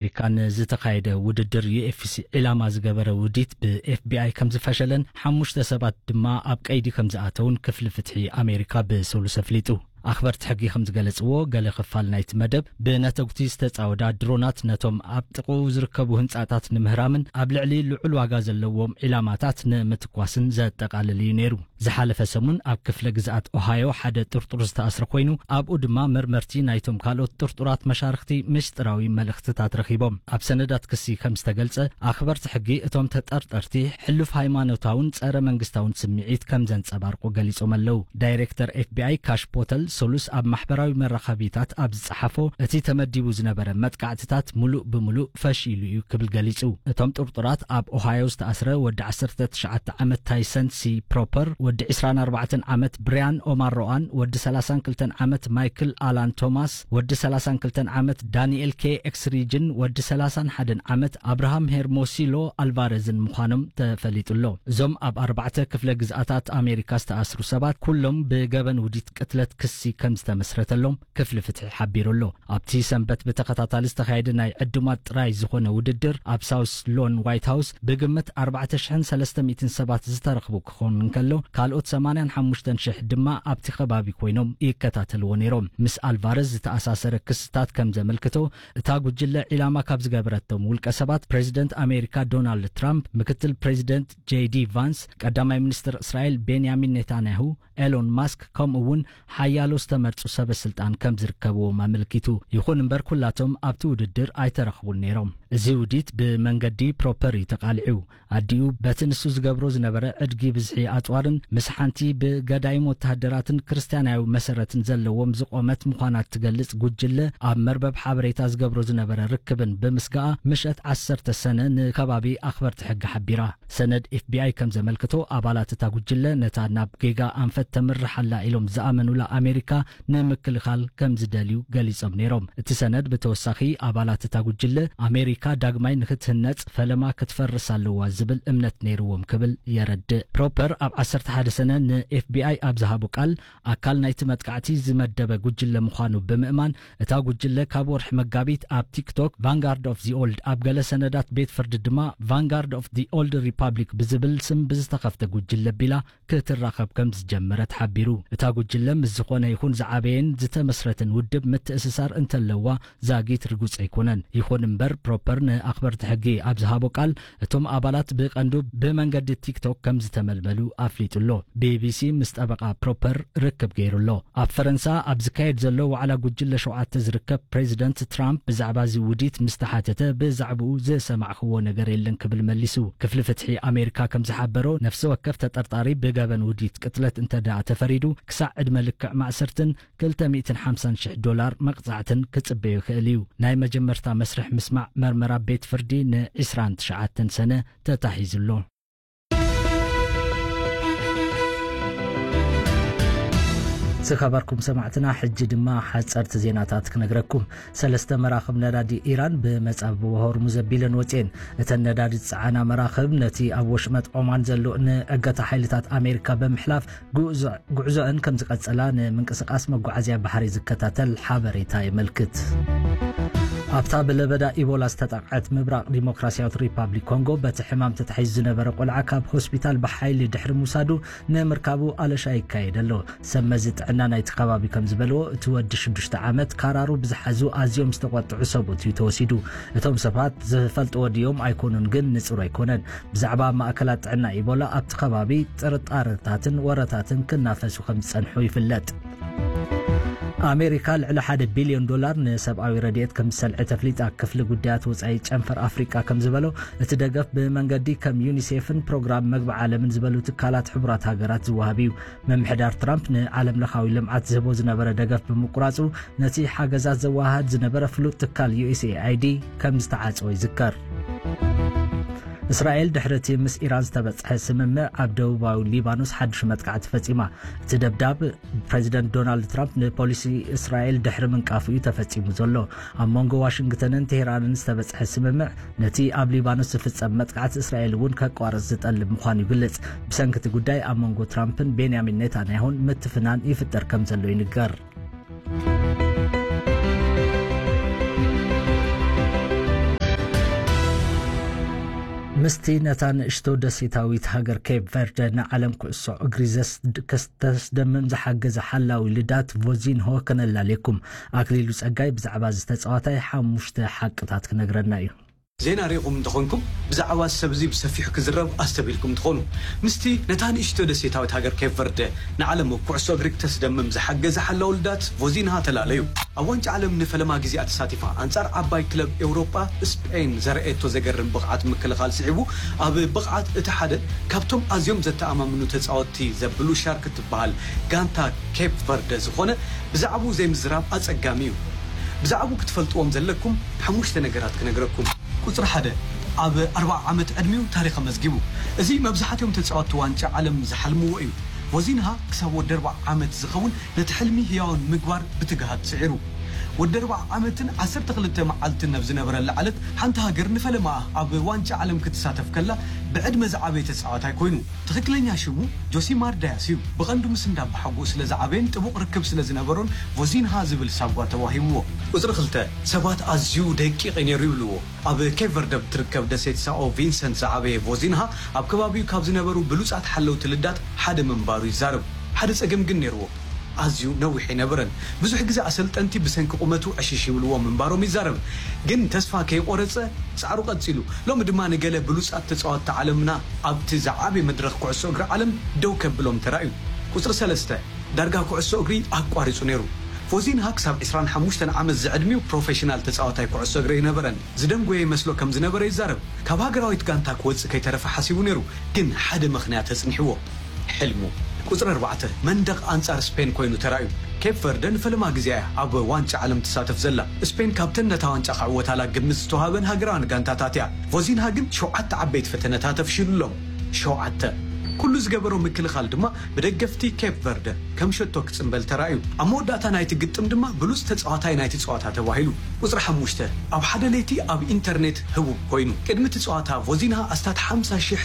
ኣሜሪካ ንዝተኻየደ ውድድር ዩ ኤፍ ሲ ዒላማ ዝገበረ ውዲት ብ ኤፍ ቢ ኣይ ከም ዝፈሸለን ሓሙሽተ ሰባት ድማ ኣብ ቀይዲ ከም ዝኣተውን ክፍሊ ፍትሒ ኣሜሪካ ብሰሉስ ኣፍሊጡ። ኣኽበርቲ ሕጊ ከም ዝገለጽዎ፣ ገለ ክፋል ናይቲ መደብ ብነተጉቲ ዝተጻወዳ ድሮናት ነቶም ኣብ ጥቕኡ ዝርከቡ ህንጻታት ንምህራምን ኣብ ልዕሊ ልዑል ዋጋ ዘለዎም ዒላማታት ንምትኳስን ዘጠቓልል እዩ ነይሩ። ዝሓለፈ ሰሙን ኣብ ክፍለ ግዝኣት ኦሃዮ ሓደ ጥርጡር ዝተኣስረ ኮይኑ፣ ኣብኡ ድማ መርመርቲ ናይቶም ካልኦት ጥርጡራት መሻርኽቲ ምስጢራዊ መልእኽትታት ረኺቦም። ኣብ ሰነዳት ክሲ ከም ዝተገልጸ፣ ኣኽበርቲ ሕጊ እቶም ተጠርጠርቲ ሕሉፍ ሃይማኖታውን ጸረ መንግስታውን ስምዒት ከም ዘንጸባርቁ ገሊጾም ኣለዉ። ዳይሬክተር ኤፍ ቢ ኣይ ካሽ ፖተል ሰሉስ ኣብ ማሕበራዊ መራኸቢታት ኣብ ዝጸሓፎ፣ እቲ ተመዲቡ ዝነበረ መጥቃዕትታት ምሉእ ብምሉእ ፈሺሉ እዩ ክብል ገሊጹ። እቶም ጥርጡራት ኣብ ኦሃዮ ዝተኣስረ ወዲ ዓሰርተ ትሽዓተ ዓመት ታይሰን ሲ ፕሮፐር፣ ወዲ ዕስራን ኣርባዕተን ዓመት ብሪያን ኦማር ሮኣን፣ ወዲ ሰላሳን ክልተን ዓመት ማይክል ኣላን ቶማስ፣ ወዲ ሰላሳን ክልተን ዓመት ዳንኤል ኬ ኤክስሪጅን፣ ወዲ ሰላሳን ሓደን ዓመት ኣብርሃም ሄርሞሲሎ ኣልቫረዝን ምዃኖም ተፈሊጡ ኣሎ። እዞም ኣብ ኣርባዕተ ክፍለ ግዝኣታት ኣሜሪካ ዝተኣስሩ ሰባት ኩሎም ብገበን ውዲት ቅትለት ክሲ ከም ዝተመስረተሎም ክፍሊ ፍትሒ ሓቢሩ ኣሎ። ኣብቲ ሰንበት ብተኸታታሊ ዝተኻየደ ናይ ዕዱማት ጥራይ ዝኾነ ውድድር ኣብ ሳውስ ሎን ዋይት ሃውስ ብግምት ኣርባዕተ ሽሕን ሰለስተ ሚእትን ሰባት ዝተረኽቡ ክኾኑ እንከሎ፣ ካልኦት ሰማንያን ሓሙሽተን ሽሕ ድማ ኣብቲ ከባቢ ኮይኖም ይከታተልዎ ነይሮም። ምስ ኣልቫረዝ ዝተኣሳሰረ ክስታት ከም ዘመልክቶ፣ እታ ጉጅለ ዒላማ ካብ ዝገበረቶም ውልቀ ሰባት ፕሬዚደንት ኣሜሪካ ዶናልድ ትራምፕ፣ ምክትል ፕሬዚደንት ጄ ዲ ቫንስ፣ ቀዳማይ ሚኒስትር እስራኤል ቤንያሚን ኔታንያሁ፣ ኤሎን ማስክ፣ ከምኡ እውን ሓያሎ ዝተመርጹ ሰበ ስልጣን ከም ዝርከብዎም ኣመልኪቱ። ይኹን እምበር፣ ኩላቶም ኣብቲ ውድድር ኣይተረኽቡን ነይሮም። እዚ ውዲት ብመንገዲ ፕሮፐር እዩ ተቃሊዑ። ኣዲኡ በቲ ንሱ ዝገብሮ ዝነበረ ዕድጊ ብዝሒ ኣጽዋርን ምስ ሓንቲ ብገዳይም ወተሃደራትን ክርስትያናዊ መሰረትን ዘለዎም ዝቖመት ምዃና እትገልጽ ጉጅለ ኣብ መርበብ ሓበሬታ ዝገብሮ ዝነበረ ርክብን ብምስጋኣ፣ ምሸት ዓሰርተ ሰነ ንከባቢ ኣኽበርቲ ሕጊ ሓቢራ። ሰነድ ኤፍ ቢ ኣይ ከም ዘመልክቶ፣ ኣባላት እታ ጉጅለ ነታ ናብ ጌጋ ኣንፈት ተምርሕ ኣላ ኢሎም ዝኣመኑላ ኣሜሪካ ንምክልኻል ከም ዝደልዩ ገሊጾም ነይሮም። እቲ ሰነድ ብተወሳኺ፣ ኣባላት እታ ጉጅለ፣ ኣሜሪካ ዳግማይ ንክትህነጽ ፈለማ ክትፈርስ ኣለዋ ዝብል እምነት ነይርዎም ክብል የረድእ። ፕሮፐር ኣብ ዓሰርተ ሓደ ሰነ ን ኤፍ ቢ ኣይ ኣብ ዝሃቦ ቃል፣ ኣካል ናይቲ መጥቃዕቲ ዝመደበ ጉጅለ ምዃኑ ብምእማን፣ እታ ጉጅለ ካብ ወርሒ መጋቢት ኣብ ቲክቶክ ቫንጋርድ ኦፍ ዚ ኦልድ፣ ኣብ ገለ ሰነዳት ቤት ፍርዲ ድማ ቫንጋርድ ኦፍ ዚ ኦልድ ሪፓብሊክ ብዝብል ስም ብዝተኸፍተ ጉጅለ ቢላ ክትራኸብ ከም ዝጀመረት ሓቢሩ። እታ ጉጅለ ምስ ዝኾነ ይኹን ዝዓበየን ዝተመስረተን ውድብ ምትእስሳር እንተለዋ ዛጊት ርጉጽ ኣይኮነን። ይኹን እምበር፣ ፕሮፐር ንኣኽበርቲ ሕጊ ኣብ ዝሃቦ ቃል፣ እቶም ኣባላት ብቐንዱ ብመንገዲ ቲክቶክ ከም ዝተመልመሉ ኣፍሊጡ ኣሎ። ቢ ቢ ሲ ምስ ጠበቓ ፕሮፐር ርክብ ገይሩ ኣሎ። ኣብ ፈረንሳ ኣብ ዝካየድ ዘሎ ዋዕላ ጉጅለ ሸውዓተ ዝርከብ ፕሬዚደንት ትራምፕ ብዛዕባ እዚ ውዲት ምስ ተሓተተ፣ ብዛዕባኡ ዝሰማዕኽዎ ነገር የለን ክብል መሊሱ። ክፍሊ ፍትሒ ኣሜሪካ ከም ዝሓበሮ፣ ነፍሲ ወከፍ ተጠርጣሪ ብገበን ውዲት ቅትለት እንተ ደኣ ተፈሪዱ፣ ክሳዕ ዕድመ ልክዕ ማእሰርትን ክልተ ሚእትን ሓምሳን ሽሕ ዶላር መቕጻዕትን ክጽበዮ ይኽእል እዩ። ናይ መጀመርታ መስርሕ ምስማዕ መርመራ ቤት ፍርዲ ን ዕስራን ትሽዓተን ሰነ ተታሒዙ ኣሎ። ዝኸበርኩም ሰማዕትና፣ ሕጂ ድማ ሓጸርቲ ዜናታት ክነግረኩም። ሰለስተ መራኽብ ነዳዲ ኢራን ብመጻብቦ ሆርሙዝ ኣቢለን ወጺኤን። እተን ነዳዲ ዝጸዓና መራኽብ ነቲ ኣብ ወሽመጥ ኦማን ዘሎ ንእገታ ሓይልታት ኣሜሪካ ብምሕላፍ ጉዕዞ-፣ ጉዕዞአን ከም ዝቐጸላ ንምንቅስቓስ መጓዓዝያ ባሕሪ ዝከታተል ሓበሬታ የመልክት። ኣብታ ብለበዳ ኢቦላ ዝተጠቕዐት ምብራቕ ዲሞክራሲያዊት ሪፓብሊክ ኮንጎ፣ በቲ ሕማም ተታሒዙ ዝነበረ ቆልዓ ካብ ሆስፒታል ብሓይሊ ድሕሪ ምውሳዱ፣ ንምርካቡ ኣለሻ ይካየድ ኣሎ። ሰብ መዚ ጥዕና ናይቲ ከባቢ ከም ዝበልዎ፣ እቲ ወዲ ሽዱሽተ ዓመት ካራሩ ብዝሓዙ ኣዝዮም ዝተቖጥዑ ሰብኡት እዩ ተወሲዱ። እቶም ሰባት ዝፈልጥዎ ድዮም ኣይኮኑን ግን ንጹር ኣይኮነን። ብዛዕባ ማእከላት ጥዕና ኢቦላ ኣብቲ ከባቢ ጥርጣረታትን ወረታትን ክናፈሱ ከም ዝጸንሑ ይፍለጥ። ኣሜሪካ ልዕሊ ሓደ ቢልዮን ዶላር ንሰብኣዊ ረድኤት ከም ዝሰልዐ ተፍሊጣ። ክፍሊ ጉዳያት ወጻኢ ጨንፈር ኣፍሪቃ ከም ዝበሎ፣ እቲ ደገፍ ብመንገዲ ከም ዩኒሴፍን ፕሮግራም መግቢ ዓለምን ዝበሉ ትካላት ሕቡራት ሃገራት ዝወሃብ እዩ። ምምሕዳር ትራምፕ ንዓለም ለኻዊ ልምዓት ዝህቦ ዝነበረ ደገፍ ብምቁራጹ፣ ነቲ ሓገዛት ዘወሃህድ ዝነበረ ፍሉጥ ትካል ዩ ኤስ ኤ ኣይ ዲ ከም ዝተዓጽወ ይዝከር። እስራኤል ድሕሪ እቲ ምስ ኢራን ዝተበጽሐ ስምምዕ ኣብ ደቡባዊ ሊባኖስ ሓድሽ መጥቃዕቲ ፈጺማ። እቲ ደብዳብ ፕሬዚደንት ዶናልድ ትራምፕ ንፖሊሲ እስራኤል ድሕሪ ምንቃፉ እዩ ተፈጺሙ ዘሎ። ኣብ መንጎ ዋሽንግተንን ቴህራንን ዝተበጽሐ ስምምዕ ነቲ ኣብ ሊባኖስ ዝፍጸም መጥቃዕቲ እስራኤል እውን ከቋርጽ ዝጠልብ ምዃኑ ይግለጽ። ብሰንኪ እቲ ጉዳይ ኣብ መንጎ ትራምፕን ቤንያሚን ኔታንያሁን ምትፍናን ይፍጠር ከም ዘሎ ይንገር። ምስቲ ነታ ንእሽቶ ደሴታዊት ሃገር ኬፕ ቨርደ ንዓለም ኩዕሶ እግሪ ዘስ-፣ ከስተስደምም ዝሓገዘ ሓላዊ ልዳት ቮዚንሆ ከነላልየኩም። ኣክሊሉ ጸጋይ ብዛዕባ እዚ ተጻዋታይ ሓሙሽተ ሓቅታት ክነግረና እዩ። ዜና ርኢኹም እንተኾንኩም፣ ብዛዕባ እዚ ሰብ እዚ ብሰፊሑ ክዝረብ ኣስተብሂልኩም ትኾኑ። ምስቲ ነታ ንእሽቶ ደሴታዊት ሃገር ኬፕ ቨርደ ንዓለም ኣብ ኩዕሶ እግሪ ክተስደምም ዝሓገዘ ሓላዊ ልዳት ቮዚንሃ ተላለዩ። ኣብ ዋንጫ ዓለም ንፈለማ ግዜኣ ተሳቲፋ ኣንጻር ዓባይ ክለብ ኤውሮጳ ስፔን ዘርኣየቶ ዘገርም ብቕዓት ምክልኻል ስዒቡ፣ ኣብ ብቕዓት እቲ ሓደ ካብቶም ኣዝዮም ዘተኣማምኑ ተጻወትቲ ዘብሉ ሻርክ እትበሃል ጋንታ ኬፕ ቨርደ ዝኾነ ብዛዕባኡ ዘይምዝራብ ኣጸጋሚ እዩ። ብዛዕባኡ ክትፈልጥዎም ዘለኩም ሓሙሽተ ነገራት ክነግረኩም። ቁጽሪ ሓደ፣ ኣብ ኣርብዓ ዓመት ዕድሚኡ ታሪኽ ኣመዝጊቡ። እዚ መብዛሕትኦም ተጻወትቲ ዋንጫ ዓለም ዝሓልምዎ እዩ። ቮዚንሃ ክሳብ ወዲ ኣርብዓ ዓመት ዝኸውን ነቲ ሕልሚ ህያውን ምግባር ብትግሃት ጽዒሩ። ወዲ ኣርብዓ ዓመትን ዓሰርተ ክልተ መዓልትን ኣብ ዝነበረላ ዕለት፣ ሓንቲ ሃገር ንፈለማኣ ኣብ ዋንጫ ዓለም ክትሳተፍ ከላ፣ ብዕድመ ዝዓበየ ተጻዋታይ ኮይኑ። ትኽክለኛ ሽሙ ጆሲማር ዳያስ እዩ። ብቐንዱ ምስ እንዳ ኣቦሓጎኡ ስለ ዝዓበየን ጥቡቕ ርክብ ስለ ዝነበሮን ቮዚንሃ ዝብል ሳጓ ተዋሂብዎ። ቁጽሪ ክልተ፣ ሰባት ኣዝዩ ደቂቕ እዩ ነይሩ ይብልዎ። ኣብ ኬፕ ቨርደ ብትርከብ ደሴት ሳኦ ቪንሰንት ዝዓበየ ቮዚንሃ፣ ኣብ ከባቢኡ ካብ ዝነበሩ ብሉጻት ሓለውቲ ልዳት ሓደ ምንባሩ ይዛረብ። ሓደ ጸገም ግን ነይርዎ። ኣዝዩ ነዊሕ ኣይነበረን። ብዙሕ ግዜ ኣሰልጠንቲ ብሰንኪ ቁመቱ ዕሽሽ ይብልዎ ምንባሮም ይዛረብ። ግን ተስፋ ከይቆረጸ ጻዕሩ ቀጺሉ። ሎሚ ድማ ንገለ ብሉጻት ተጻወትቲ ዓለምና ኣብቲ ዝዓበየ መድረኽ ኩዕሶ እግሪ ዓለም ደው ከብሎም ተራእዩ። ቁጽሪ ሰለስተ፣ ዳርጋ ኩዕሶ እግሪ ኣቋሪጹ ነይሩ። ፎዚንሃ ክሳብ ዕስራን ሓሙሽተን ዓመት ዝዕድሚኡ ፕሮፌሽናል ተጻዋታይ ኩዕሶ እግሪ ኣይነበረን። ዝደንጎየ ይመስሎ ከም ዝነበረ ይዛረብ። ካብ ሃገራዊት ጋንታ ክወጽእ ከይተረፈ ሓሲቡ ነይሩ፣ ግን ሓደ ምኽንያት ኣጽኒሕዎ። ሕልሙ። ቁጽሪ ኣርባዕተ፣ መንደቕ ኣንጻር ስፔን ኮይኑ ተራእዩ። ኬፕ ቨርደ ንፈለማ ግዜ እያ ኣብ ዋንጫ ዓለም ትሳተፍ ዘላ። ስፔን ካብተን ነታ ዋንጫ ክዕወታላ ግምት ዝተዋሃበን ሃገራውያን ጋንታታት እያ። ፎዚንሃ ግን ሸውዓተ ዓበይቲ ፈተነታት ኣፍሺሉሎም። ሸውዓተ። ኩሉ ዝገበሮ ምክልኻል ድማ ብደገፍቲ ኬፕ ቨርደ ከም ሸቶ ክጽምበል ተራእዩ። ኣብ መወዳእታ ናይቲ ግጥም ድማ ብሉጽ ተጻዋታይ ናይቲ ጸዋታ ተባሂሉ። ቁጽሪ ሓሙሽተ፣ ኣብ ሓደ ለይቲ ኣብ ኢንተርኔት ህቡብ ኮይኑ። ቅድሚ እቲ ጸዋታ ፎዚንሃ ኣስታት ሓምሳ ሽሕ